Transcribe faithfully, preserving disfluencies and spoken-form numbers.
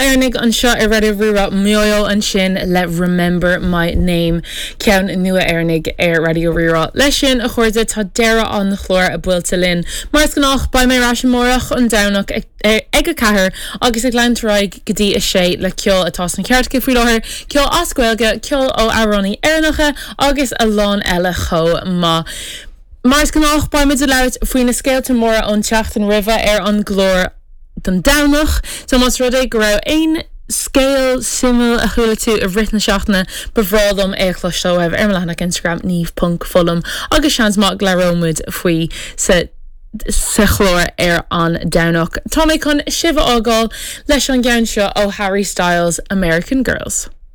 Éireannaigh anseo ar Raidió Rí-Rá Mayo ansin le Remember My Name ceann nua Éireannaigh ar Raidió Rí-Rá. Leis sin a chairde tá deireadh an chláir buailte linn. Mar is gnách beidh mé ar ais amárach an Domhnach ag ag a ceathair agus ag leanúint go dtí a sé le ceol atá sna cairteacha faoi láthair, ceol as Gaeilge, ceol ó amhránaithe Éireannacha agus a lán eile chomh maith. Mar is gnách beimid ag labhairt faoi na scéalta móra ón tseachtain roimhe ar an gclár don Domhnach, so más rud é go raibh aon scéal suimiúil a chuala tú i rith na seachtaine ba bhreá liom é a chloisteáil ar mo leathanach Instagram niamh.fullam agus seans maith go labhróimid faoi sa sa chlár ar an Domhnach. Tá mé chun sibh a fhágáil leis an gceann seo ó Harry Styles American Girls.